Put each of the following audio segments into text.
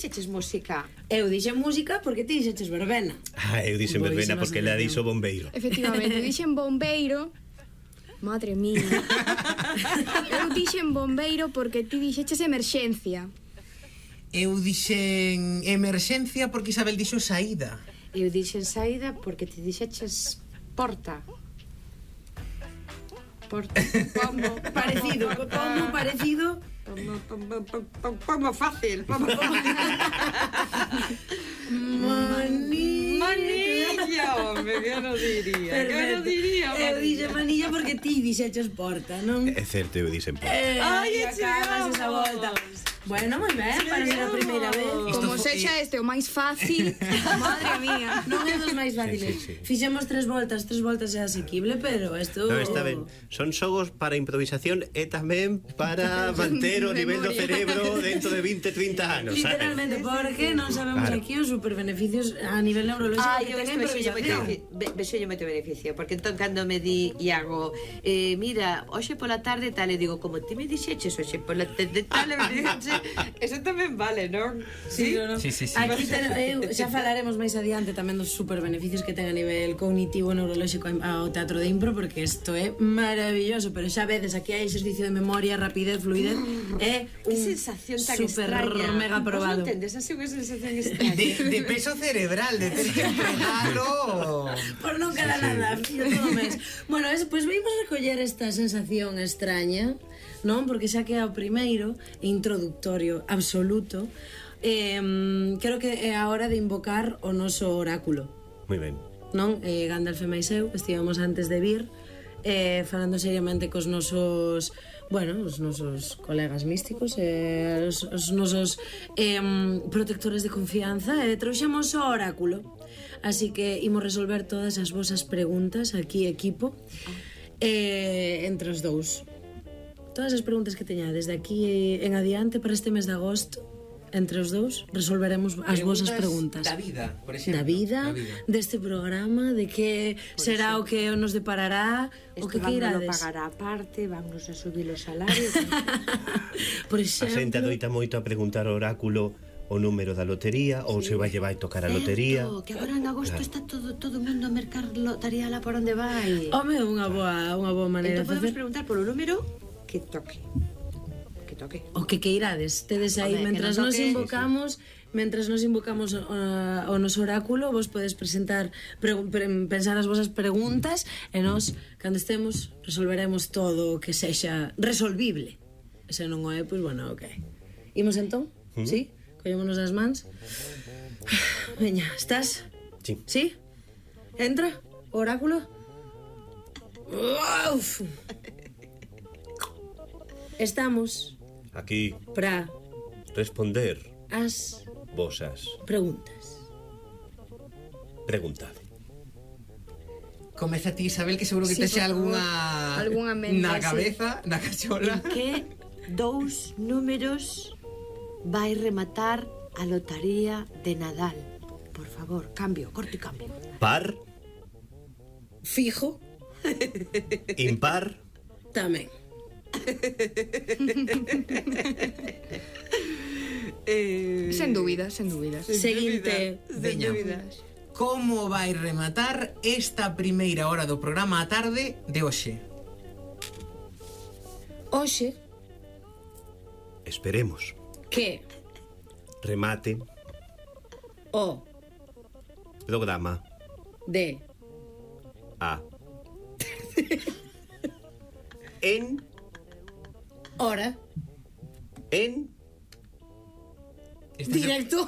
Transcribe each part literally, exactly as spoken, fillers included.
Dixeches música? Eu dixen música porque ti dixeches verbena. Ah, eu dixen verbena porque ela dixo bombeiro. Efectivamente, eu dixen bombeiro. Madre mía. Eu dixen bombeiro porque ti dixeches emerxencia. Eu dixen emerxencia porque Isabel dixo saída. Eu dixen saída porque ti dixeches porta. Porta. Pomo parecido, pomo parecido. Pomo fácil. Pomo fácil. Manilla. Manilla, home, que non diría. Que non diría, Eu dixen manilla porque ti dixeches porta, non? É certo, eu dixen porta. Eh, Ai, acabas esa volta. Bueno, moi ben, para ser a primeira vez. Como sexa este o máis fácil. Madre mía. Non é dos máis fáciles. Sí, sí, sí. Fixemos tres voltas, tres voltas é asequible, pero isto... No, está ben. Son xogos para improvisación e tamén para manter o nivel do cerebro dentro de vinte, trinta anos, sabes? Literalmente, porque non sabemos Claro. aquí os superbeneficios a nivel neurológico Ai, que eu ten isto vexolle moito improvisación. beneficio, vexolle moito beneficio, porque entón cando me di Iago, eh, mira, hoxe pola tarde tal, e digo, como ti me dixeches hoxe pola tarde tal, e me dixeches, eso tamén vale, non? Sí, no, no. Sí, sí, sí. Aquí ten, eu, xa falaremos máis adiante tamén dos superbeneficios que ten a nivel cognitivo neurolóxico ao teatro de impro, porque isto é maravilloso, pero xa vedes, aquí hai exercicio de memoria, rapidez, fluidez, é Que un sensación tan super extraña. mega probado. Vos non entendes, así unha sensación extraña. De, de peso cerebral, de ter que empregalo. Por non queda Sí, sí. nada, fío todo mes. Bueno, es, pues vimos recoller esta sensación extraña, non? Porque xa que é o primeiro introductorio absoluto, eh, creo que é a hora de invocar o noso oráculo, Moi ben. non? Eh, Gandalf e máis eu estivemos antes de vir eh, falando seriamente cos nosos, bueno, os nosos colegas místicos, eh, os, os nosos eh, protectores de confianza, e eh, trouxemos o oráculo, así que imos resolver todas as vosas preguntas aquí, equipo, eh, entre os dous. Todas as preguntas que teñades de aquí en adiante para este mes de agosto, entre os dous resolveremos as vosas preguntas da vida, por exemplo. da vida, Da vida. deste programa, de que será o que nos deparará, o que Isto que vámonos irades. pagar a parte, vámonos a subir os salarios. Por A xente exemplo, adoita moito a preguntar ao oráculo o número da lotería, ou se vai llevar a tocar a lotería. Certo, que agora en agosto Claro. está todo todo o mundo a mercar lotaría lá por onde vai. home, unha boa, unha boa maneira Entón de podemos facer. preguntar polo número que toque. Que toque. O que queirades, tedes aí, Home, que mentras non nos toque. invocamos, mentras nos invocamos o, o noso oráculo, vos podes presentar, pre, pre, pensar as vosas preguntas, e nós, cando estemos, resolveremos todo o que sexa resolvible. E se non o é, pois, bueno, ok. Imos entón? Mm. Sí? Collémonos as mans. Veña, estás? Sí. Sí? Entra, oráculo. Uf. Estamos Aquí para responder as vosas preguntas. preguntade. Comeza ti, Isabel, que seguro que Sí, texe por favor. algunha Algunha mente, na sí. cabeza, na cachola. Que dous números vai rematar a lotaría de Nadal? Por favor, cambio, corte e cambio. Par, Fijo, impar, tamén. Eh, Sen dúbidas, sen dúbidas. Seguinte, Veña. Como vai rematar esta primeira hora do programa á tarde de hoxe? hoxe esperemos, que remate, o programa de a en, hora en, Este se- directo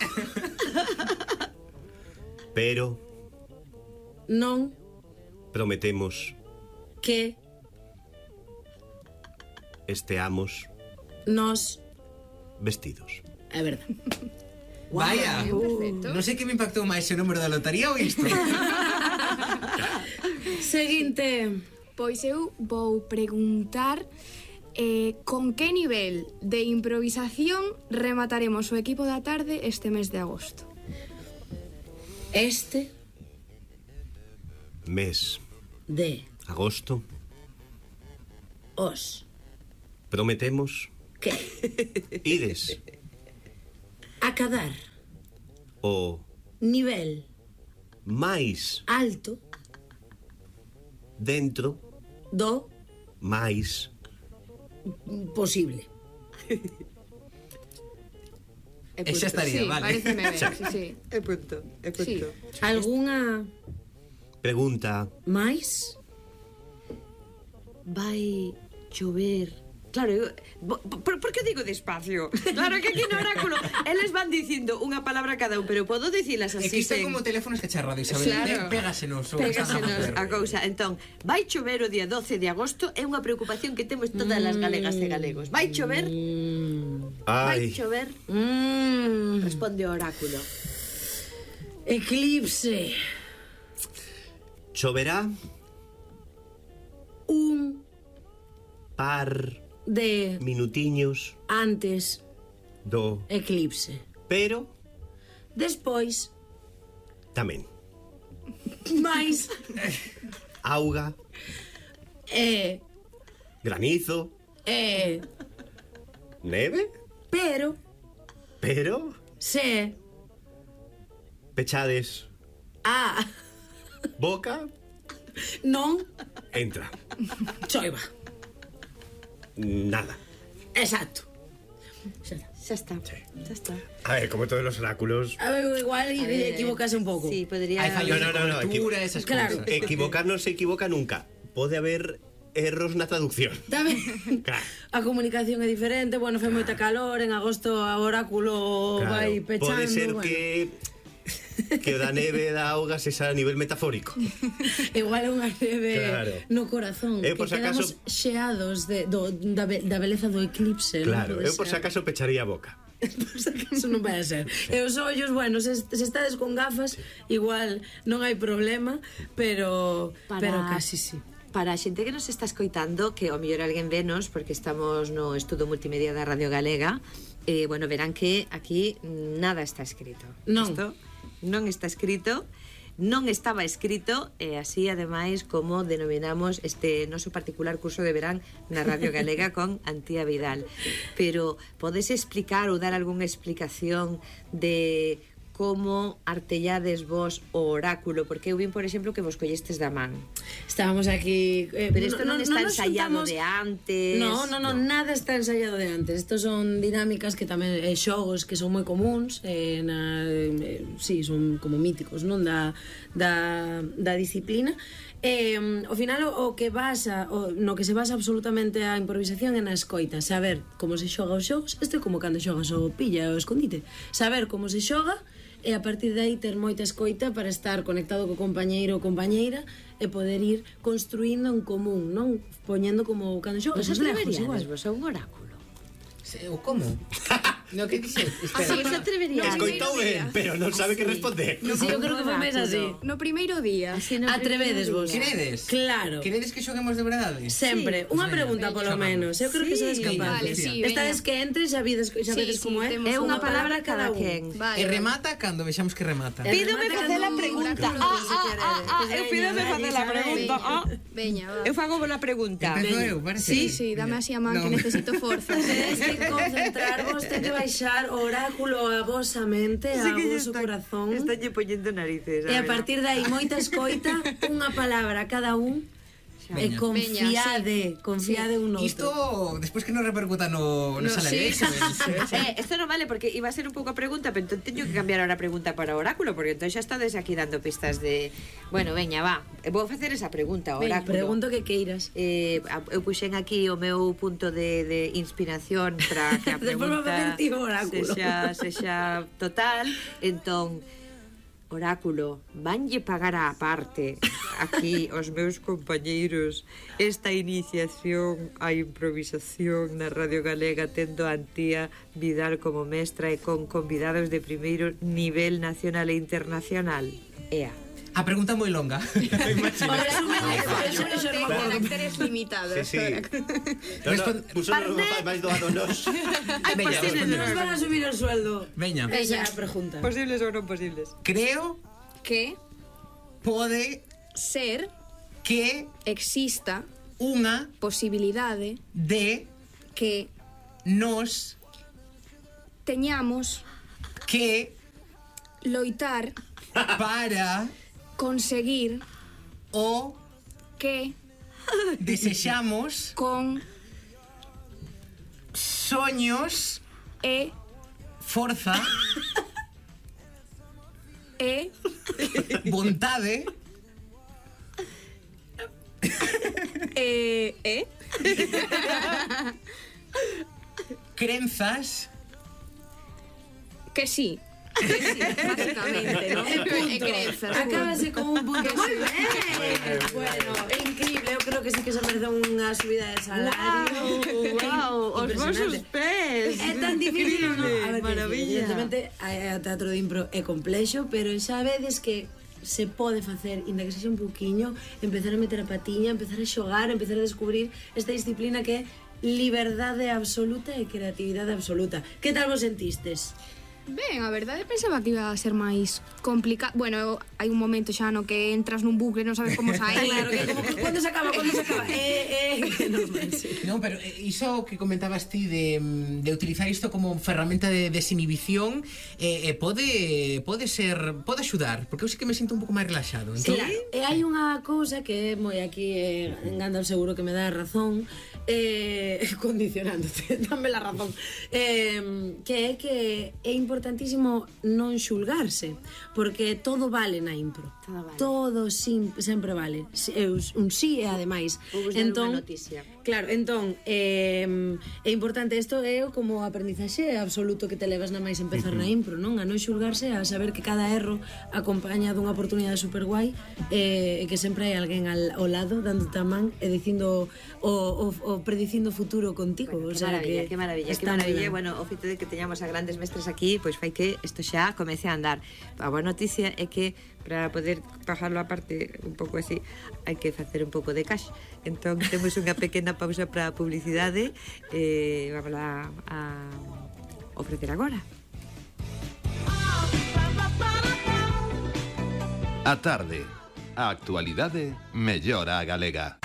pero non prometemos que esteamos nos vestidos. é verdad. Vaya, perfecto. non sei que me impactou máis o número da lotaría ou isto. Seguinte, Pois eu vou preguntar eh, con que nivel de improvisación remataremos o equipo da tarde este mes de agosto. este Mes de agosto os prometemos que ides Acadar. O Nivel máis alto dentro do máis posible. E Esa punto. estaría, Sí, vale. pareceme ben, sí, sí. E punto, e punto. Algunha pregunta. máis? Vai chover. Claro, eu, bo- por, por que digo despacio? Claro que aquí no oráculo eles van dicindo unha palabra cada un, pero podo dicilas É así que isto é sen... como teléfonos que cha radio, Isabel. Claro. Pégasenos o que están a Pégasenos facer. a cousa. Entón, vai chover o día doce de agosto é unha preocupación que temos todas as galegas e galegos. Vai chover? Vai Ai, chover? Mm, Responde o oráculo. eclipse. choverá Un par de minutiños antes do eclipse. pero Despois, tamén máis auga, e granizo, e neve, pero pero se pechades a boca, non entra choiva. nada. Exacto. Xa está. Xa está, xa está. A ver, como todos los oráculos, A ver, igual A ver, equivocase un pouco. Sí, podría... Hai fallos No, no, no, no, de cobertura, esas Claro. cousas. equivocar non se equivoca nunca. Pode haber erros na traducción. Tamén Claro. a comunicación é diferente, bueno, foi moita calor, en agosto a oráculo Claro, vai pechando. pode ser bueno. que que o da neve e da auga sexa a nivel metafórico. Igual é unha neve Claro. no corazón, Eu, que por si quedamos acaso- xeados de, do, da, be- da beleza do eclipse. Claro, non pode eu por si ser. acaso pecharía a boca. Por si acaso non vai a ser. E os ollos, bueno, se, se estades con gafas, igual non hai problema, pero Para- pero casi sí. Para a xente que nos está escoitando, que ao mellor alguén venos, porque estamos no estudo multimedia da Radio Galega, eh, bueno, verán que aquí nada está escrito. Non. Isto non está escrito, non estaba escrito, e así, ademais, como denominamos este noso particular curso de verán na Radio Galega con Antía Vidal. Pero podes explicar ou dar algunha explicación de como artellades vos o oráculo, porque eu vin, por exemplo, que vos collestes da man. Estábamos aquí... Eh, Pero isto non está nos ensaiado juntamos- de antes. No, no, no, nada está ensaiado de antes. Estos son dinámicas que tamén eh, xogos que son moi comuns, eh, na, eh, sí, son como míticos, non da da da disciplina. Eh, ao final o, o que basa o, no que se basa absolutamente a improvisación é na escoita, saber como se xoga os xogos. Isto é como cando xogas o pilla ou o escondite, saber como se xoga e a partir de aí ter moita escoita para estar conectado co compañeiro ou compañeira e poder ir construindo en común, non? Poñendo como cando xogas Vos os legos igual. atreveríades vos a un oráculo? Se- O como? No, que dixe? Así vos atreveríades? Escoitou ben, pero non sabe que responder. Sí, eu creo que foi máis así. No primeiro día. Así no Atrevedes vos. Queredes? Claro. Queredes que xoguemos de verdade? Sempre. Sí. Unha Pues pregunta, veña, polo xogamos. menos. Eu creo que Sí, sodes capaces. vale, sí, veña. Esta vez que entres xa vides, xa Sí, vedes sí, como é. temos É unha unha palabra cada un. quen. Vale. E remata cando vexamos que remata. Eh, Pídome remata facer a cando- pregunta. cando Ah, se ah, quere. ah, ah, eu Veña, pídome dale, facer a Isabel. pregunta. Ah. Veña, va. Eu fago boa pregunta. Empezo eu, parece. Sí, sí, dame así a man que No. necesito forza. Tedes que concentrarvos, ten que baixar o oráculo a vosa mente, a voso corazón. Estálle poñendo narices. E a partir de aí, moita escoita, unha palabra a cada un, e Veña. confiade, confiade un outro. Isto, despois que non repercuta no, no, No, salario. sí. Eh, esto non vale porque iba a ser un pouco a pregunta, pero entón teño que cambiar ahora a pregunta para o oráculo, porque entón xa estades aquí dando pistas de... Bueno, veña, va, vou facer esa pregunta ao Veña, oráculo. pregunto que queiras. Eh, a- eu puxen aquí o meu punto de, de inspiración para que a Despois vou facer pregunta ti o oráculo. sexa, sexa total. Entón, oráculo, vanlle pagar á parte aquí os meus compañeiros esta iniciación á improvisación na Radio Galega, tendo a Antía Vidal como mestra e con convidados de primeiro nivel nacional e internacional? Ea. A pregunta moi longa. O resumen é eso, eso non me acordo. Caracteres limitados. Sí, sí. No, no, Respon- puso Parné. máis doado nos. Ai, Veña, posibles, responde. Nos van a subir el sueldo. Veña. Esa é a pregunta. posibles ou non posibles? Creo Que pode ser que exista unha posibilidade de que nos teñamos que loitar para conseguir o que desexamos con soños e forza e vontade e e crenzas que sí. Que sí, básicamente, ¿no? E crenzas. Acábase con un punto. Moi ben. Bueno, é increíble. Eu creo que sí que se merece unha subida de salario. Wow, os vosos pés. É tan difícil, non? A ver, Maravilla. evidentemente, o teatro de impro é complexo, pero xa vedes que se pode facer, inda que sexa un pouquiño, empezar a meter a patiña, empezar a xogar, empezar a descubrir esta disciplina que é liberdade absoluta e creatividade absoluta. Que tal vos sentistes? Ben, a verdade pensaba que iba a ser máis complicado. Bueno, hai un momento xa no que entras nun bucle, non sabes como sair. Claro, que como que cando se acaba, cando se acaba. Eh, eh, normal, sí. Non, pero eh, iso que comentabas ti de, de utilizar isto como ferramenta de desinhibición eh, eh, pode pode ser, pode axudar, porque eu sí que me sinto un pouco máis relaxado. Entón, Claro, e hai unha cousa que é moi aquí, eh, en Gandalf seguro que me dá razón, eh, condicionándote, dame la razón, eh, que é que é importantísimo non xulgarse, porque todo vale na impro. Todo vale. Todo sim, sempre vale. Si- é un sí e ademais. Vou vos dar unha noticia. Claro, entón, eh, é importante isto, é como aprendizaxe absoluto que te levas na máis empezar na impro, non? A non xulgarse, a saber que cada erro acompaña dunha oportunidade super guai eh, e que sempre hai alguén al, ao lado dándote a man e dicindo o, o, o predicindo o futuro contigo. Bueno, o que sea, maravilla, que que maravilla, que está moi maravilla. ben. Bueno, o feito de que teñamos a grandes mestres aquí, pois fai que isto xa comece a andar. A boa noticia é que para poder bajarlo a parte un pouco así, hai que facer un pouco de cash. Entón, temos unha pequena pausa para a publicidade e eh, vamos a, a ofrecer agora. A tarde, a actualidade mellora a galega.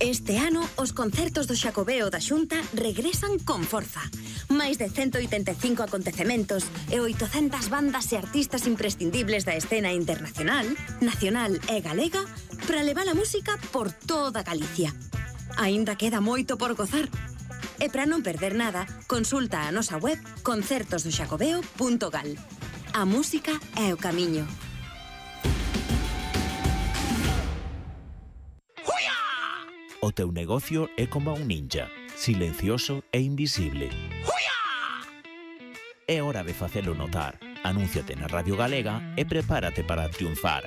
Este ano, os concertos do Xacobeo da Xunta regresan con forza. Máis de ciento oitenta e cinco acontecementos e oitocentas bandas e artistas imprescindibles da escena internacional, nacional e galega para levar a música por toda Galicia. Aínda queda moito por gozar. E para non perder nada, consulta a nosa web concertos do xacobeo punto gal. A música é o camiño. O teu negocio é como un ninja, silencioso e invisible. É hora de facelo notar. Anúnciate na Radio Galega e prepárate para triunfar.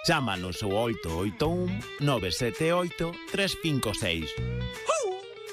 Chámanos ao oito oito un, nove sete oito, tres cinco seis.